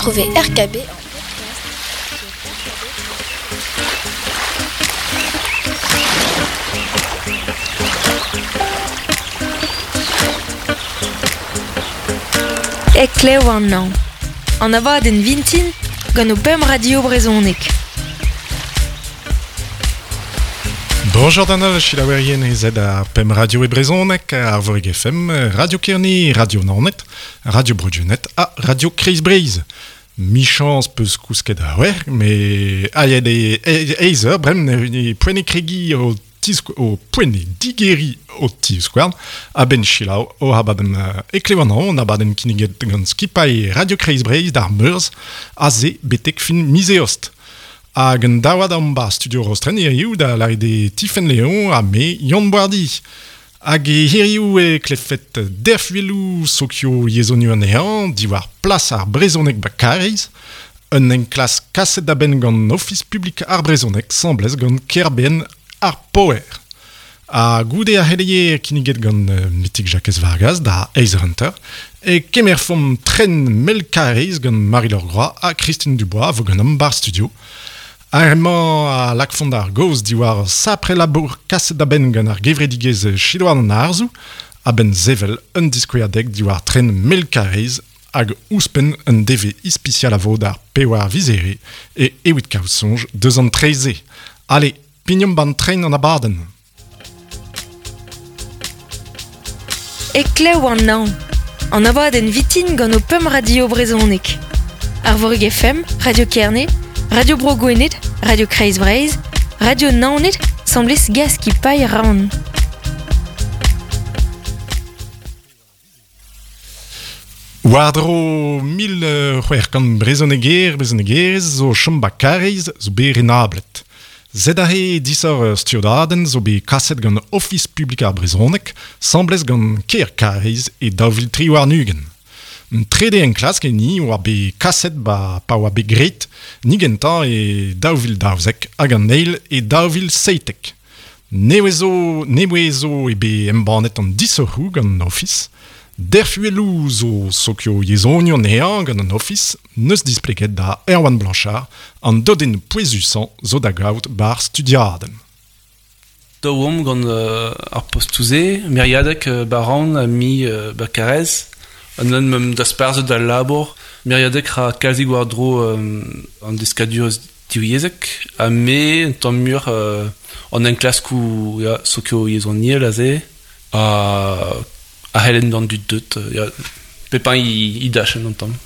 Retrouvez RKB en podcast. Heklev an Nañv. An abadenn vintin gant ho pemp radio brezhonek. Bonjour d'an holl selaouerien ez ar pemp radio e brezhoneg, Arvorig FM, Radio Kerne, Radio Naoned, Radio Bro-Gwened ha Radio Kreiz Breizh. Michañs peus kousket a-wec'h, me aet e eizh eur bremañ ne poent e kregiñ o o poent eo digeriñ ho tivskouarn a-benn selaou ho abadenn heklev an hañv, an abadenn kinniget gant skipailh Radio Kreiz Breizh d'ar Meurzh aze betek fin miz Eost. Hag un daouad omp 'ba studio Rostren hiziv da lâret eo Tifenn Leon ha me Yann Boardi. Hag hiriv e klevfet derfuelloù sokio-yezhonioù anezhañ diwar plas ar brezhoneg 'ba Karaez, un enklask kaset da benn gant Ofis publik ar brezhoneg 'sambles gant kêr-benn ar Poer. Ha goude ar c'heleier kinniget gant Metig Jakez Vargas da Ace Hunter e kemerfomp tren Mel-Karaez gant Marie-Laure Groix ha Christine Dubois a vo ganeomp 'bar studio. Ar re-mañ a lakfont ar gaoz diwar sapre labour kaset da benn gant ar gevredigezh Chidouarn an Arzoù a-benn sevel un diskouezadeg diwar tren Mel-Karaez hag ouzhpenn un devezh ispisial a vo d'ar pevar viz Here e evit kaout soñj deus an tre-se. Ale, pignomp b'an tren an abadenn. Heklev an Hañv, an abadenn vitin gant ho pemp radio brezhonek. Arvorig FM, Radio Kerne, Radio Bro Gwened, Radio Kreiz Breizh, Radio Naoned, 'semblez Gaskipailh Rann. War-dro 1600 brezhoneger, brezhonegerez zo chom 'ba Karaez zo bet renablet. Sed aze disoc'h ur studiadenn zo bet kaset gant Ofis publik ar brezhoneg 'sambles gant kêr Karaez e 2023. Un trede enklask enni oa bet kaset 'ba pa oa bet graet ni gentañ e 2012 hag an eil e 2017. Nevez zo nevez zo eo bet embannet an disoc'hoù gant an Ofis. Derfuelloù zo sokio-yezhonioù anezhañ gant an Ofis 'neus displeget da Erwan Blanchard an dodennoù pouezusañ zo da gaout 'bar studiadenn. Daou omp gant ar postoù-se, meriadeg Baran ha mi ba Karaez. An un meump dasparzhet al labour. Meriadeg ra kalzik war-dro an deskadurezh divyezhek ha me un tamm muioc'h an enklaskoù ya, sokio-yezhoniel aze ha a c'hellen d'an dud deut ya, pep hini e dachenn un tamm.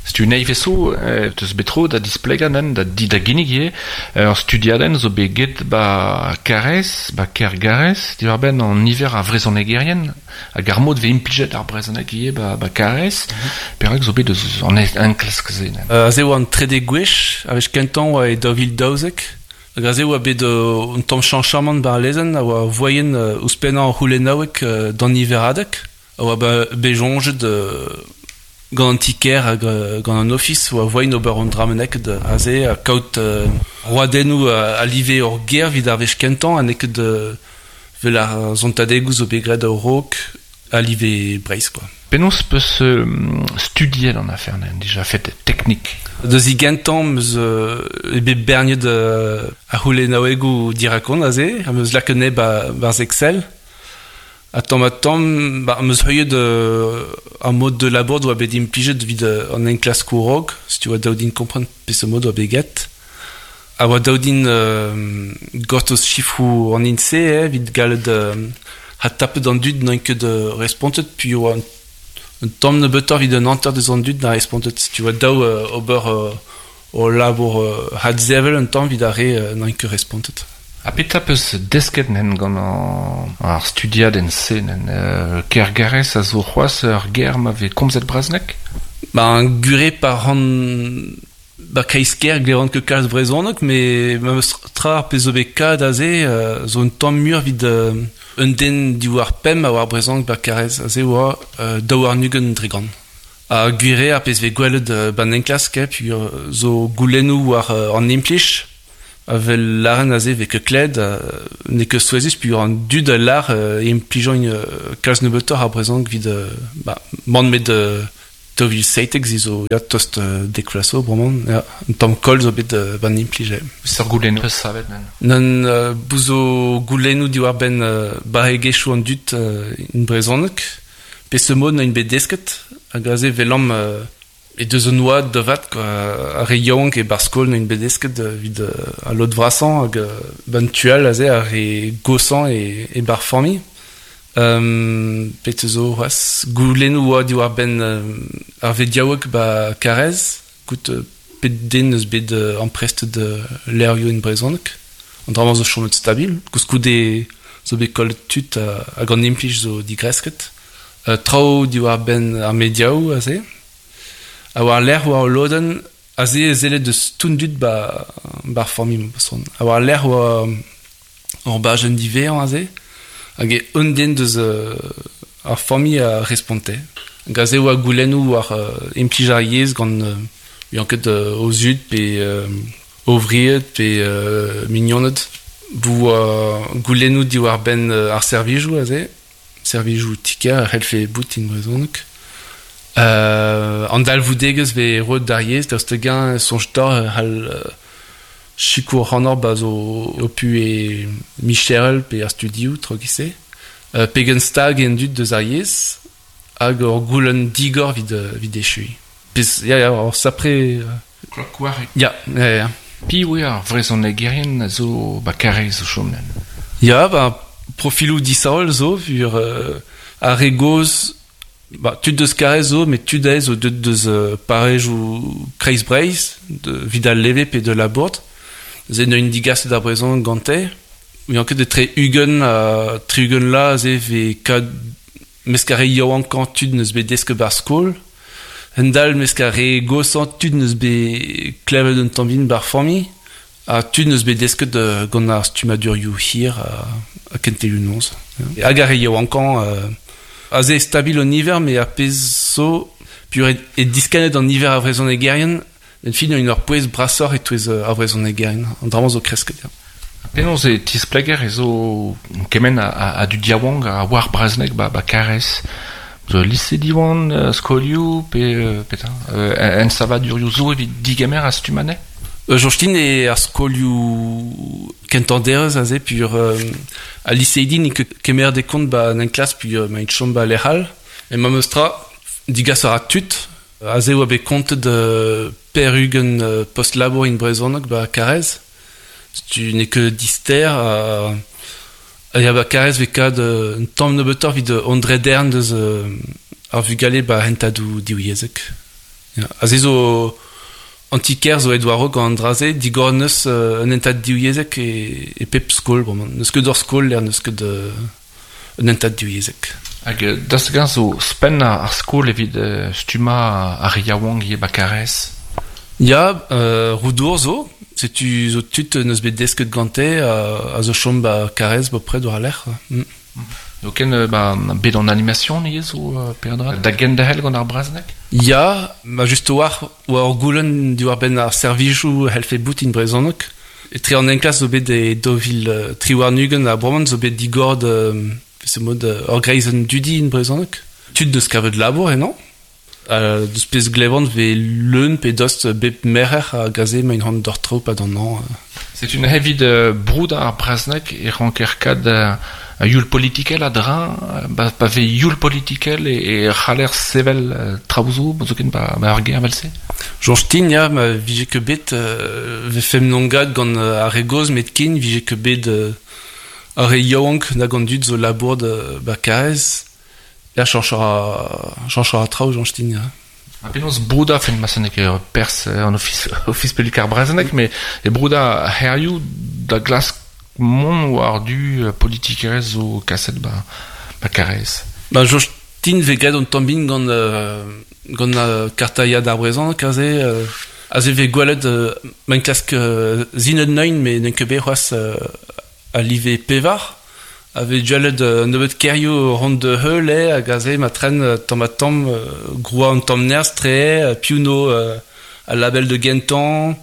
Setu nevez zo teus bet tro da displegañ nen, da, da ginnig ivez ur studiadenn zo bet get ba Karaez, ba Kêr-Garaez, diwar-benn an niver a vrezhonegerien hag ar mod 'vez implijet ar brezhoneg ivez ba, ba Karaez. Perak zo bet eus an enklask-se Aze oa an trede gwech, ar wech kentañ oa e 2012. Hag aze oa bet un tamm chañchamant war lezenn a oa voaien ouzhpennañ ar c'houlennaoueg d'an niveradeg. A oa bet soñjet gant an ti-kêr hag gant an ofis oa voaien ober un dra bennak aze ha kaout roadennoù a live hor gêr evit ar wech kentañ ha n'eo ket Vel ar sontadegoù zo bet graet a-raok a live Breizh kwa. Penaos 'peus studiet an afer neuze dija fet teknik? Da zigentañ 'm eus eo bet berniet ar c'houlennaouegoù dirakon aze, am eus lakaet anezhe 'barzh Excel. Ha tamm-ha-tamm 'm eus heuliet ar mod de labour 'doa bet implijet evit an enklaskoù raok, setu 'oa dav din kompren peseurt mod 'oa bet graet. A oa dav din gortoz sifroù an INSEE evit gallout adtapet an dud n'oint ket respontet puis oa un tamm nebeutoc'h evit un hanter deus an dud na respontet. Tu oa dav ober o labour adsevel un tamm evit ar re n'oint ket respontet. Ha petra 'peus desket nen gant ar studiadenn-se nen Kergarez a zo c'hoazh ur ger ma vez komzet brezhoneg? Ba un gure pa ran Ba kreiz-kêr glevan ket kalz brezhoneg met memes tra ar pezh zo bet kavet aze zo un tamm muioc'h evit un den diwar pemp a oar brezhoneg ba Karaez. Aze oa 22%. Ha gwir eo ar pezh vez gwelet ba'n enklask peogwir zo goulennoù war an implij a vel lâren aze vez ket klevet n'eo ket souezhus peogwir an dud a lâr e implijont kalz nebeutoc'h ar brezhoneg evit ba mann 'met. 2017 zi zo ya tost dek vloaz zo bremañ ya un tamm koll zo bet ban implij eo. Seurt goulennoù peus savet nen? Nann bout zo goulennoù diwar-benn barregezhioù an dud in brezhoneg peseurt mod n'int bet desket hag aze 'welamp e deus un oad da vat quoi ar re yaouank e-barzh skol n'int bet desket evit al lod vrasañ hag ban tu all aze ar re goshañ e-barzh familh. Petra zo c'hoazh? Goulennoù oa diwar-benn ar vediaoueg ba Karez, goût pet den eus bet amprestet levrioù en brezhoneg. An dra-mañ zo chomet stabil. Koulskoude zo bet kollet tud hag an implij zo digresket. Traoù diwar-benn ar mediaoù aze. Ha war-lerc'h oa ul lodenn aze e sellet deus tout an dud ba ba'r familh ma Ha war-lerc'h oa ur bajenn diwezhañ aze. Hag e un den deus ar familh a responte. Hag aze oa goulennoù war implij ar yezh gant n'ouian ket o zud pe o vried pe mignoned. Bout goulennoù diwar-benn ar servijoù aze, servijoù ti-kêr a c'hellfe bout en brezhoneg. An dalvoudegezh 'vez roet d'ar yezh daoust hag-eñ soñj deoc'h e c'hall Sikour ac'hanoc'h ba zo ho puhez micherel pe ar studioù tro giz-se. Pegen stag eo an dud deus ar yezh hag ur goulenn digor evit evit echuiñ. Pezh ya ya ur sapre Klok-wareg. Ya, ya ya. Piv eo ar vrezhonegerien a zo ba Karaez o chom len? Ya, ba profiloù disheñvel zo, vur ar re gozh Ba tud deus Karez zo, met tud aes zo deuet deus parrezioù Kreiz-Breizh, evit al leve pe de Labourd. Neuze neuint digaset ar brezhoneg gante. N'ouian ket etre 20 ha 60 vloaz aze 'vez kad mesk ar re yaouankañ tud n'eus bet desket 'barzh skol. Hend-all mesk ar re goshañ tud n'eus bet klevet un tamm bihan 'ba'r familh. Ha tud n'eus bet desket gant ar stummadurioù hir ha kentelioù noz. Hag ar re yaouankañ aze stabil an niver, met ar pezh zo peogwir eo diskennet an niver a vrezhonegerien, en fin eo ur pouez brasoc'h e-touez ar vrezhonegerien. An dra-mañ zo kresket, ya. Penaos e tispleger ez zo kement a dud yaouank a oar brezhoneg ba Karez? Zo lise Diwan, skolioù pe petra? Ensavadurioù zo evit digemer ar stumm anezhe? Soñj din eo ar skolioù kentañ derez aze peogwir al liseidi n'int ket kemeret e kont 'ba an enklask peogwir emaint chom 'ba lec'h all. Met memes tra, digas a ra tud. Aze e oa bet kontet per-ugent post-labour in brezhoneg 'ba Karaez. Setu n'eo ket dister ha ya ba Karaez 'vez kad un tamm nebeutoc'h evit an drederenn deus ar vugale 'ba hentadoù divyezhek. Ya, aze zo an ti-kêr zo aet war-raok gant an dra-se, digor neus un hentad divyezhek e pep skol bremañ. N'eus ket ur skol lec'h n'eus ket un hentad divyezhek. Hag daoust hag-eñ zo ouzhpenn ar skol evit stummañ ar re yaouank ivez 'ba Karaez? Ya, Roudour zo. Setu zo tud n'eus bet desket gante a zo chom 'ba Karaez bepred war al lec'h. N'eo ken ba bet an animation ivez zo peadra da genderc'hel gant ar brezhoneg? Ya, ma just a-walc'h oa ur goulenn diwar-benn ar servijoù c'hellfe boutin brezhoneg. Etre an enklask zo bet e 2023 ha bremañ zo bet digor da mod ur greizenn dudi en brezhoneg. Tud deus kavet labour ennañ. Deus pezh glevan 'vez leun pe dost bep merc'her hag aze emaint hon d'hor traoù 'pad an hañv. Setu neuze evit broudañ ar brezhoneg e ranker kad youl politikel a-dreñv. Pa vez youl politikel e c'haller sevel traoù zo, zoken ba ur gêr evel-se. Soñj din ya, ma vije ket bet 'vefemp nongad gant ar re gozh met ken 'vije ket bet ar re yaouank nag an dud zo labour 'ba Karaez. Ya, chañch a ra traoù, soñj din, ya. Ha penaos broudañ, fin ma n'eo ket perzh an ofis, ofis publik ar brezhoneg, mais e broudañ ar c'hêrioù da glask mont war-du politikerezh zo kaset ba, ba Karaez. Ba soñj din 'vez graet un tamm bihan gant gant kartailhad ar brezhoneg aze. Aze 'vez gwelet ma enklask sinet neuint, met n'eo ket bet c'hoazh a live pevar a vez gwelet un nebeud kêrioù ront da heul eo hag aze ma tren tamm-ha-tamm groa un tamm nerzh tre piv 'no al label da gentañ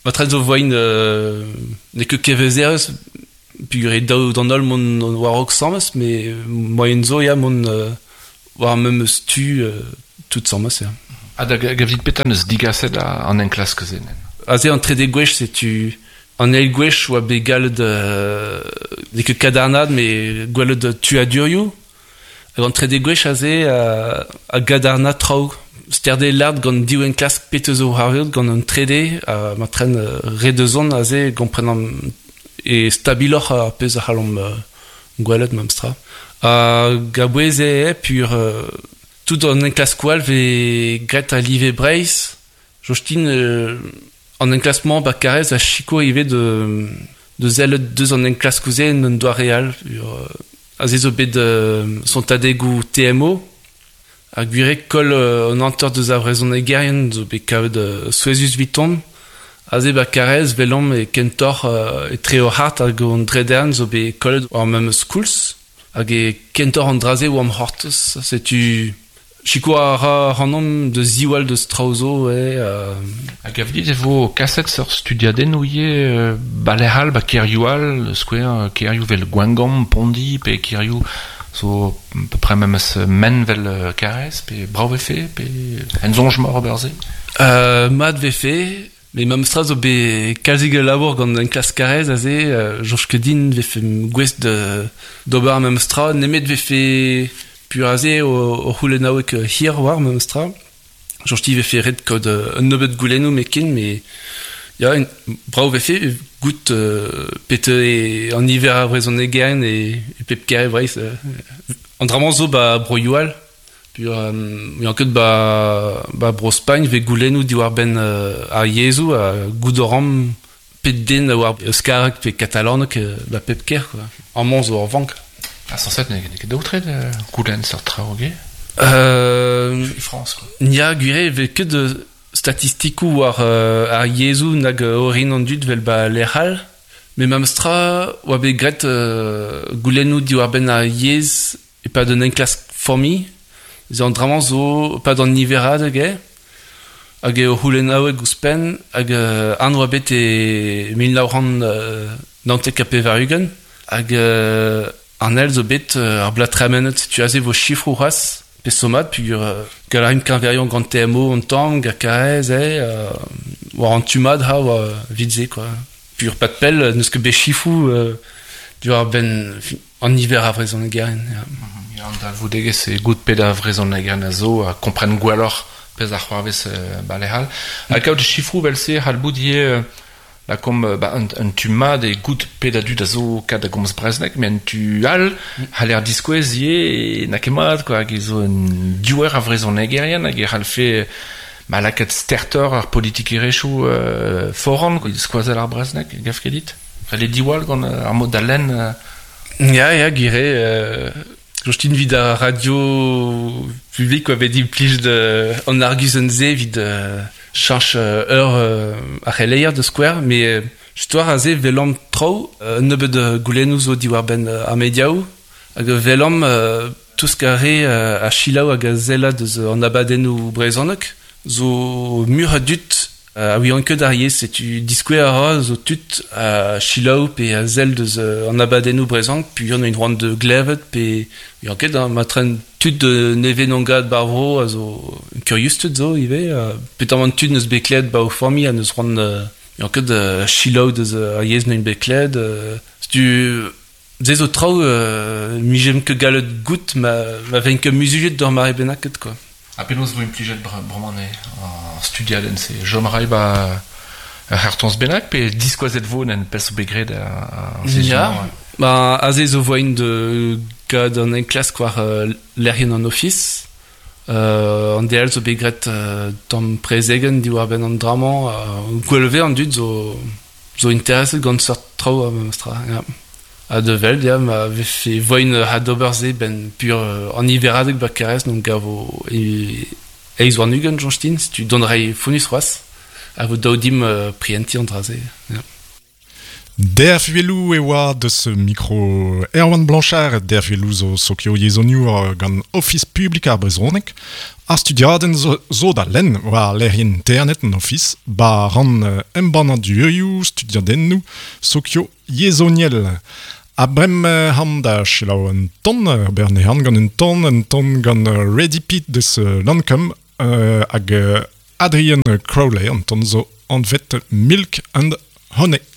ma tren zo voain n'eo ket kevezerezh peogwir eo dav d'an holl mont war-raok 'sames met moaien zo ya mont war ar memes tu. tout sammes, ya. Ha da gavit petra neus digaset an enklask-se? Aze an trede gwech, setu an eil gwech oa bet gallet n'eo ket kadarnaat, met gwelet tuadurioù. Hag an trede gwech aze a gadarna traoù. Sterde lard gant div enklask pet eus o c'hoarvezout gant an trede, ha ma tren re deus on aze gomprenan e stabiloc'h ar pezh a c'hallomp gwelet memestra. Hag a-bouez eo pur tout an enklaskoù all vez graet a live Breizh. Jostin, an enklask-mañ ba Karez a sikour ivez de sellet deus an enklaskoù-se en un doare all. Aze zo bet sontadegoù TMO, ar gwir eo koll an hanter deus ar vrezhonegerien zo bet kavet souezhus 'viton. Aze ba Karez 'welomp e kentoc'h etre hor c'hart hag hon drederenn zo bet kollet war memes koulz. Hag e kentoc'h an dra-se oamp c'hortoz. Setu sikour a ra ac'hanomp da ziwall deus traoù zo eo. Hag a dit e vo kaset seurt studiadennoù ivez ba lec'h all, ba kêrioù all, skouer kêrioù vel Gwengamp, Pondi, pe kêrioù zo à peu près memes men vel Karez, pe brav vefe, pe en soñj mor ober se? Mat vefe, met memestra zo bet kalzik a labour gant enklask Karez aze, soñj ket din vefe gouest d'ober ar memestra, nemet vefe pur aze o c'houlennaoueg hir war memestra. Soñj dit vefe ret kaout un nebeud goulennoù met ken, met ya, brav vefe goût pet eo an niver a vrezhonegerien e pep kêr e Breizh. An dra-mañ zo ba broioù all. Pur eo ket ba Bro-Spagn vez goulennoù diwar-benn ar yezhoù ha goût a ran pet den a oar euskareg pe katalaneg ba pep kêr, quoi. Amañ zo ur vank. Ha sañset n'eo ket daoutre goulenn seurt traoù, ge? E Frañs, quoi. Ya, gwir eo, vez ket statistikoù war ar yezhoù nag orin an dud vel ba lec'h all. Met memestra oa bet graet goulennoù diwar-benn ar yezh e-pad un enklask familh. Se an dra-mañ zo e-pad an niveradeg eo. Hag eo c'houlennaoueg ouzhpenn hag an oa bet e 1999. Hag an eil zo bet ar bloaz tremenet. Setu aze vo sifroù c'hoazh pe somat peogwir gall a rimp keñveriañ gant TMO an tamm, gant Karez eo, war an tu mat ha war evit se quoi. Peogwir pad pell n'eus ket bet sifroù diwar-benn an niver a vrezhonegerien. Ya. Ya, an dalvoudegezh eo goût pet a vrezhonegerien a zo ha kompren gwelloc'h pezh a c'hoarvez ba lec'h all. Ha kaout sifroù vel-se c'hall bout ivez lakaomp ba un tu mat eo goût pet a dud a zo kat da gomz brezhoneg, met un tu all c'haller diskouez ivez n'a ket mat quoi, hag e zo un diouer a vrezhonegerien hag e c'hallfe ma lakaat stertoc'h ar politikerezhioù foran, quoi, skoazell ar brezhoneg, gav ket dit? Ret eo diwall gant ar mod da lenn. Ya, ya, gwir eo. Jostin evit ar radio publik oa bet implij an arguzenn-se evit cheñch eur ar c'heleier da skouer, met just war aze 'welomp traoù, un nebeud goulennoù zo diwar-benn ar mediaoù, hag 'welomp tousk ar re a selaou hag a sella deus an abadennoù brezhonek zo muioc'h a dud a ouiont ket ar yezh, setu diskouez a ra zo tud a selaou pe a sell deus an abadennoù brezhonek peogwir n'int c'hoant da glevet pe ouiont ket, hein, ma tren tud nevez n'on gad ba'r vro a zo kuriusted zo ivez, petamant tud n'eus bet klevet ba o familh ha n'eus c'hoant ouiont ket selaou deus ar yezh n'int bet klevet. Setu se zo traoù 'mijemp ket gallet goût ma vent ket muzuliet d'ur mare bennaket quoi. Ha penaos vo implijet bremañ ar studiadenn-se? Chom a ray ba ur c'hartoñs bennak pe diskoazet vo en pezh zo bet graet ar sizhun-mañ? Ya, ba aze zo voain da gad an enklask war lec'hienn an Ofis. An DL zo bet graet tamm prezegenn diwar-benn an dra-mañ. Gwell vez an dud zo intereset gant seurt traoù memestra, ya. Ha da wel, ya, ma vefe voain adober se benn pur an niveradeg ba Karez n'on gavo eizh warn-ugent, soñj din, setu dont a ray fonnus c'hoazh a vo dav dimp prientiñ an dra-se, ya. Derv-Velou e oa deus mikro Erwan Blanchard, Derv-Velou zo sokioyezhoniour gant Ofis Publik ar Brezhoneg. Ar studiadenn zo da lenn war lec'hienn internet an Ofis, ba rann embannadurioù, studiadennoù sokioyezhoniel. A brem han da selaou un ton, berne han gant un ton gant Ready Pete deus Lancome hag Adrian Crowley, an ton zo anvet Milk and Honey.